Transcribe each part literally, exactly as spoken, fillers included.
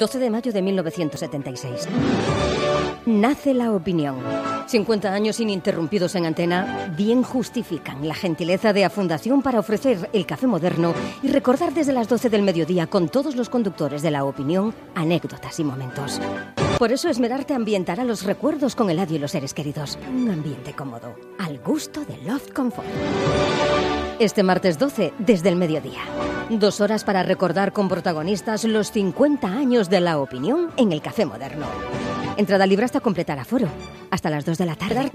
doce de mayo de mil novecientos setenta y seis. Nace La Opinión. cincuenta años ininterrumpidos en antena bien justifican la gentileza de la Fundación para ofrecer el café moderno y recordar desde las doce del mediodía con todos los conductores de La Opinión anécdotas y momentos. Por eso esmerarte ambientará los recuerdos con Eladio y los seres queridos. Un ambiente cómodo, al gusto de Loft Comfort. Este martes doce, desde el mediodía. Dos horas para recordar con protagonistas los cincuenta años de La Opinión en el café moderno. Entrada libre hasta completar aforo. Hasta las dos de la tarde.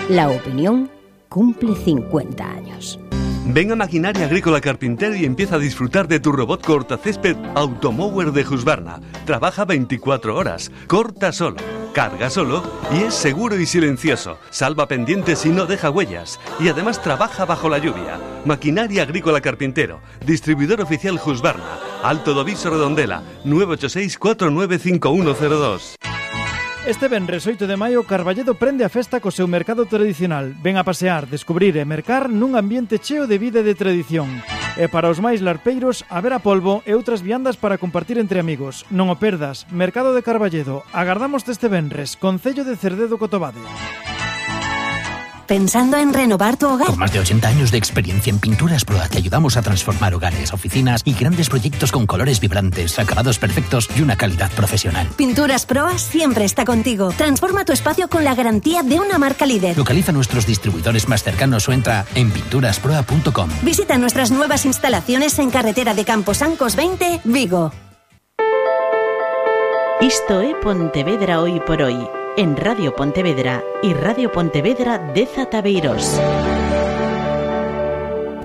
La Opinión cumple cincuenta años. Ven a Maquinaria Agrícola Carpintero y empieza a disfrutar de tu robot cortacésped Automower de Husqvarna. Trabaja veinticuatro horas, corta solo, carga solo y es seguro y silencioso. Salva pendientes y no deja huellas. Y además trabaja bajo la lluvia. Maquinaria Agrícola Carpintero, distribuidor oficial Husqvarna. Alto do Viso Redondela, nueve ocho seis, cuatro nueve cinco uno cero dos. Este venres oito de maio, Carballedo prende a festa co seu mercado tradicional. Ven a pasear, descubrir e mercar nun ambiente cheo de vida e de tradición. E para os máis larpeiros, haber a polvo e outras viandas para compartir entre amigos. Non o perdas, Mercado de Carballedo. Agardamos este venres, Concello de Cerdedo Cotobade. ¿Pensando en renovar tu hogar? Con más de ochenta años de experiencia en Pinturas Proa te ayudamos a transformar hogares, oficinas y grandes proyectos con colores vibrantes, acabados perfectos y una calidad profesional. Pinturas Proa siempre está contigo. Transforma tu espacio con la garantía de una marca líder. Localiza nuestros distribuidores más cercanos o entra en pinturas proa punto com. Visita nuestras nuevas instalaciones en carretera de Camposancos veinte, Vigo. Isto é Pontevedra Hoy por Hoy, en Radio Pontevedra y Radio Pontevedra de Zataveiros.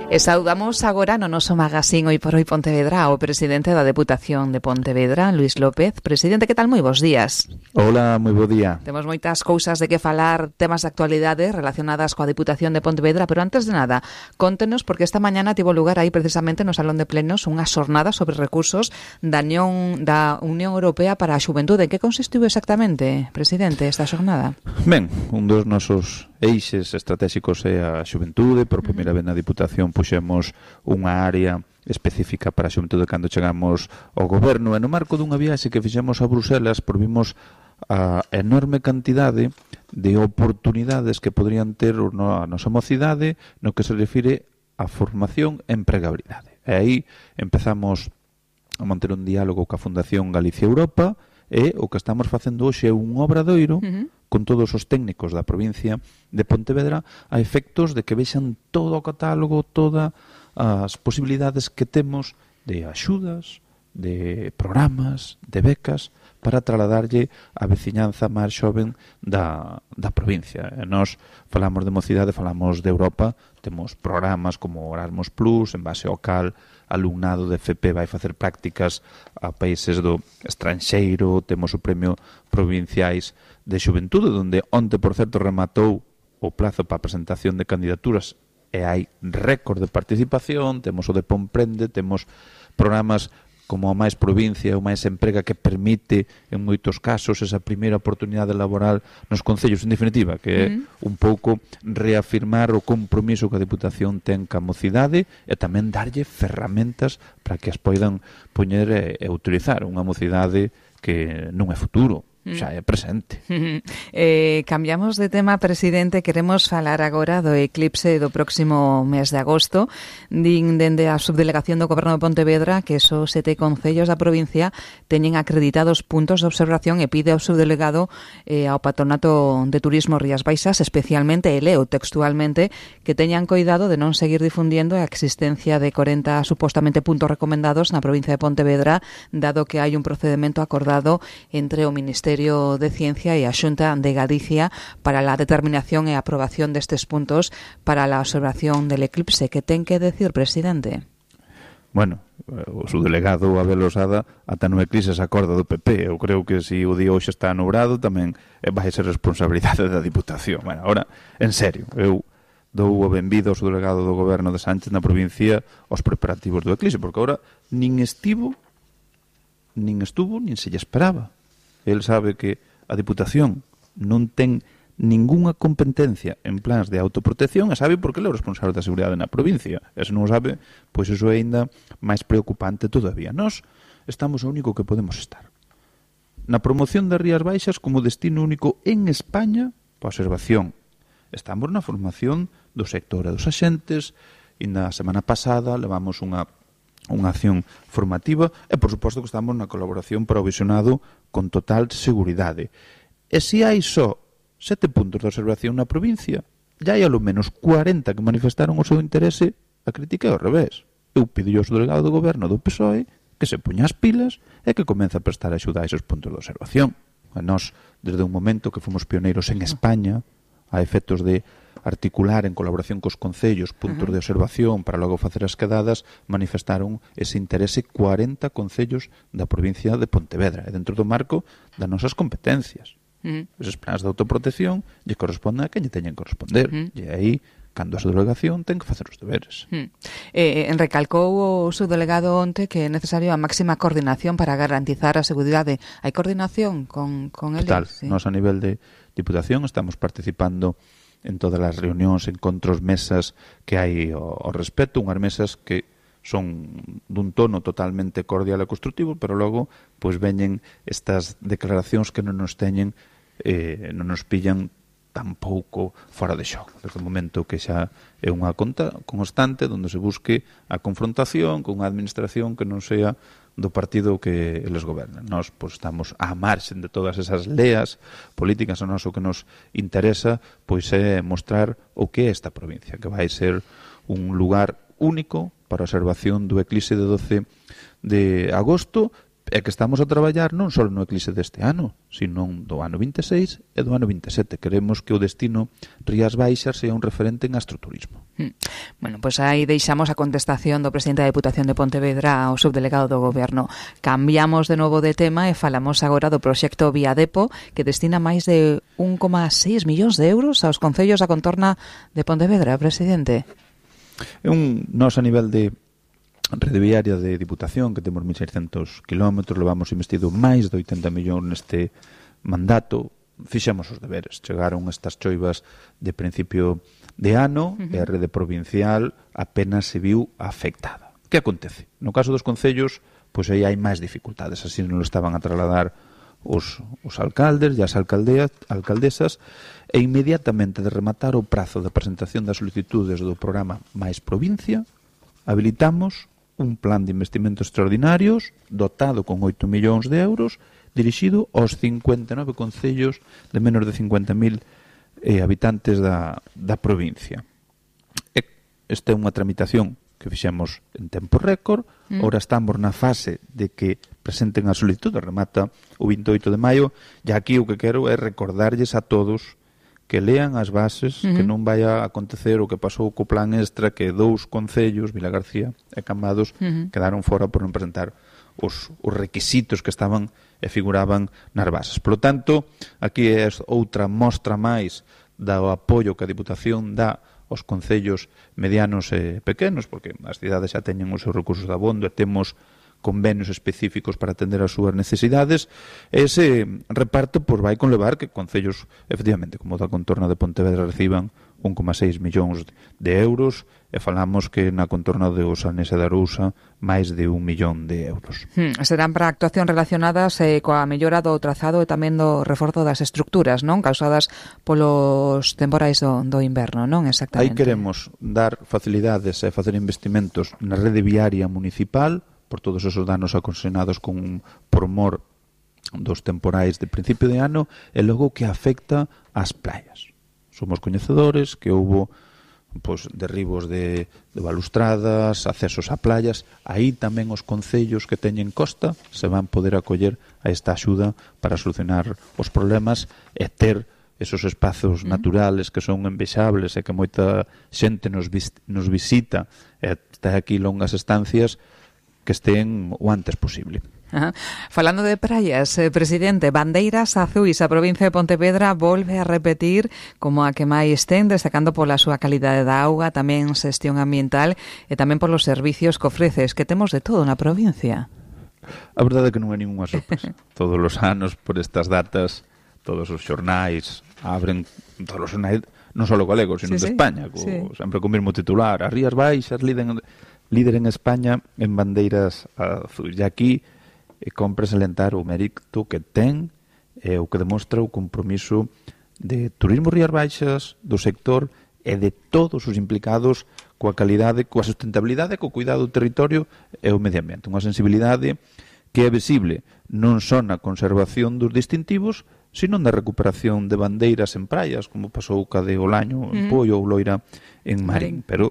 E saudamos agora no noso magazín Hoy por Hoy Pontevedra ao presidente da Deputación de Pontevedra, Luís López. Presidente, que tal? Moi bons días. Hola, moi bo día. Temos moitas cousas de que falar, temas de actualidade relacionadas coa Deputación de Pontevedra, pero antes de nada, contenos, porque esta mañana tivo lugar aí precisamente no Salón de Plenos unha xornada sobre recursos da Unión, da Unión Europea para a Xuventude. En que consistiu exactamente, presidente, esta xornada? Ben, un dos nosos eixes estratégicos é a xuventude. Por primeira vez na Diputación puxemos unha área específica para a xuventude cando chegamos ao goberno, e no marco dunha viaxe que fixemos a Bruselas provimos a enorme cantidade de oportunidades que podrían ter a nosa mocidade no que se refire a formación e empregabilidade. E aí empezamos a manter un diálogo coa Fundación Galicia Europa, e o que estamos facendo hoxe é un obradoiro uh-huh. con todos os técnicos da provincia de Pontevedra a efectos de que vexan todo o catálogo, todas as posibilidades que temos de axudas, de programas, de becas para trasladarlle a veciñanza máis xoven da, da provincia. E nós falamos de mocidade, falamos de Europa, temos programas como Erasmus Plus, en base ao cal alumnado de F P vai facer prácticas a países do estranxeiro, temos o Premio Provinciais de Xuventude, onde onte, por certo, rematou o plazo para a presentación de candidaturas e hai récord de participación, temos o de Pomprende, temos programas como a máis provincia, o máis emprega, que permite en moitos casos esa primeira oportunidade laboral nos concellos, en definitiva, que é uh-huh. un pouco reafirmar o compromiso que a Deputación ten ca mocidade e tamén darlle ferramentas para que as poidan poñer e, e utilizar unha mocidade que non é futuro, xa é presente. Eh, cambiamos de tema, presidente. Queremos falar agora do eclipse do próximo mes de agosto. Din dende a subdelegación do Goberno de Pontevedra que esos sete concellos da provincia teñen acreditados puntos de observación e pide ao subdelegado eh, ao Patronato de Turismo Rías Baixas, especialmente, e leo textualmente, que teñan coidado de non seguir difundindo a existencia de corenta supostamente puntos recomendados na provincia de Pontevedra, dado que hai un procedimento acordado entre o Ministerio de Ciencia e a Xunta de Galicia para la determinación e aprobación destes puntos para la observación del eclipse. Que ten que decir, presidente? Bueno, o subdelegado Abel Osada ata no eclipse se acorda do P P. Eu creo que se o día hoxe está nubrado tamén vai ser responsabilidade da Diputación. Bueno, ahora, en serio, eu dou o benvido ao subdelegado do Goberno de Sánchez na provincia aos preparativos do eclipse, porque agora nin estivo, nin estuvo, nin se lle esperaba. El sabe que a Diputación non ten ningunha competencia en plans de autoprotección e sabe porque ele é o responsable da seguridade na provincia. E se non o sabe, pois iso é ainda máis preocupante todavía. Nós estamos o único que podemos estar. na promoción das Rías Baixas como destino único en España para observación. Estamos na formación do sector e dos axentes, e na semana pasada levamos unha, unha acción formativa e, por suposto, que estamos na colaboración para o visionado con total seguridade. E se hai só sete puntos de observación na provincia, já hai alo menos cuarenta que manifestaron o seu interese, a crítica é ao revés. Eu pido ao delegado do goberno do P S O E que se poña as pilas e que comece a prestar axuda a esos puntos de observación. A nós, desde un momento que fomos pioneiros en España, a efectos de articular en colaboración cos concellos puntos de observación para logo facer as quedadas, manifestaron ese interese cuarenta concellos da provincia de Pontevedra e dentro do marco das nosas competencias. Uh-huh. Esos planes de autoprotección lle corresponden a quen lle teñen que corresponder. Uh-huh. E aí, cando a subdelegación ten que facer os deberes. Hmm. Eh, recalcou o subdelegado onte que é necesario a máxima coordinación para garantizar a seguridade. Hai coordinación con, con eles? Total. Sí. Nos a nivel de Diputación estamos participando en todas as reunións, encontros, mesas que hai ao, ao respecto, unhas mesas que son dun tono totalmente cordial e constructivo, pero logo pois veñen estas declaracións que non nos teñen, eh, non nos pillan tampouco fora de xogo, desde o momento que xa é unha conta constante onde se busque a confrontación con unha administración que non sea do partido que eles gobernan. Nós pois, estamos á marxen de todas esas leas políticas, a nós o que nos interesa pois é mostrar o que é esta provincia, que vai ser un lugar único para a observación do eclipse de doce de agosto, é que estamos a traballar non só no eclipse deste ano, sino do ano vinte e seis e do ano vinte e sete. Queremos que o destino Rías Baixas sea un referente en astroturismo. Hmm. Bueno, pois pues aí deixamos a contestación do presidente da Diputación de Pontevedra ao subdelegado do Goberno. Cambiamos de novo de tema e falamos agora do proxecto Viadepo, que destina máis de un coma seis millóns de euros aos concellos da contorna de Pontevedra, presidente. É un nos a nivel de rede viaria de Diputación, que temos mil seiscentos kilómetros, levamos investido máis de oitenta millóns neste mandato, fixemos os deberes. Chegaron estas choivas de principio de ano uh-huh. e a rede provincial apenas se viu afectada. Que acontece? No caso dos concellos, pois aí hai máis dificultades, así non lo estaban a trasladar os, os alcaldes e as alcaldeas, alcaldesas, e inmediatamente de rematar o prazo de presentación das solicitudes do programa Mais Provincia, habilitamos un plan de investimentos extraordinarios dotado con oito millóns de euros dirixido aos cincuenta e nove concellos de menos de cincuenta mil eh, habitantes da, da provincia. E esta é unha tramitación que fixemos en tempo récord. Mm. Ora estamos na fase de que presenten a solicitud, remata o vinte e oito de maio, e aquí o que quero é recordarlles a todos que lean as bases, uh-huh. que non vai a acontecer o que pasou co plan extra, que dous concellos, Vilagarcía e Cambados, uh-huh. quedaron fora por non presentar os, os requisitos que estaban e figuraban nas bases. Por lo tanto, aquí é outra mostra máis do apoio que a Diputación dá aos concellos medianos e pequenos, porque as cidades xa teñen os seus recursos de abondo e temos convenios específicos para atender as súas necesidades. Ese reparto pois, vai conlevar que concellos, efectivamente, como da contorna de Pontevedra, reciban un coma seis millóns de euros e falamos que na contorna de Osanes e da Arousa máis de un millón de euros. Hmm, serán para actuacións relacionadas eh, coa mellora do trazado e tamén do reforzo das estructuras, non? Causadas polos temporais do, do inverno, non? Exactamente. Aí queremos dar facilidades e facer investimentos na rede viaria municipal por todos esos danos ocasionados con por mor dos temporais de principio de ano e logo que afecta ás praias. Somos coñecedores que houbo pois, derribos de, de balustradas, accesos a playas. Aí tamén os concellos que teñen costa se van poder acoller a esta axuda para solucionar os problemas e ter esos espazos naturales que son envexables e que moita xente nos, vis, nos visita e está aquí longas estancias, que estén o antes posible. Ajá. Falando de praias, eh, presidente, bandeiras azuis, a provincia de Pontevedra volve a repetir como a que máis ten, destacando pola súa calidade da auga, tamén xestión ambiental e tamén polos servicios que ofreces, que temos de todo na provincia. A verdade é que non é ninguna sorpresa. Todos os anos, por estas datas, todos os xornais abren, todos os xornais, non só galegos, sino sí, de sí. España, co, sí. sempre co mesmo titular, as Rías Baixas liden líder en España en bandeiras azuis. E aquí e compre salientar o mérito que ten e o que demostra o compromiso de Turismo Rías Baixas, do sector e de todos os implicados coa calidade, coa sustentabilidade, co cuidado do territorio e o medio ambiente. Unha sensibilidade que é visible non só na conservación dos distintivos, sino na recuperación de bandeiras en praias, como pasou ca de Olaño, en Poio ou Loira, en Marín. Pero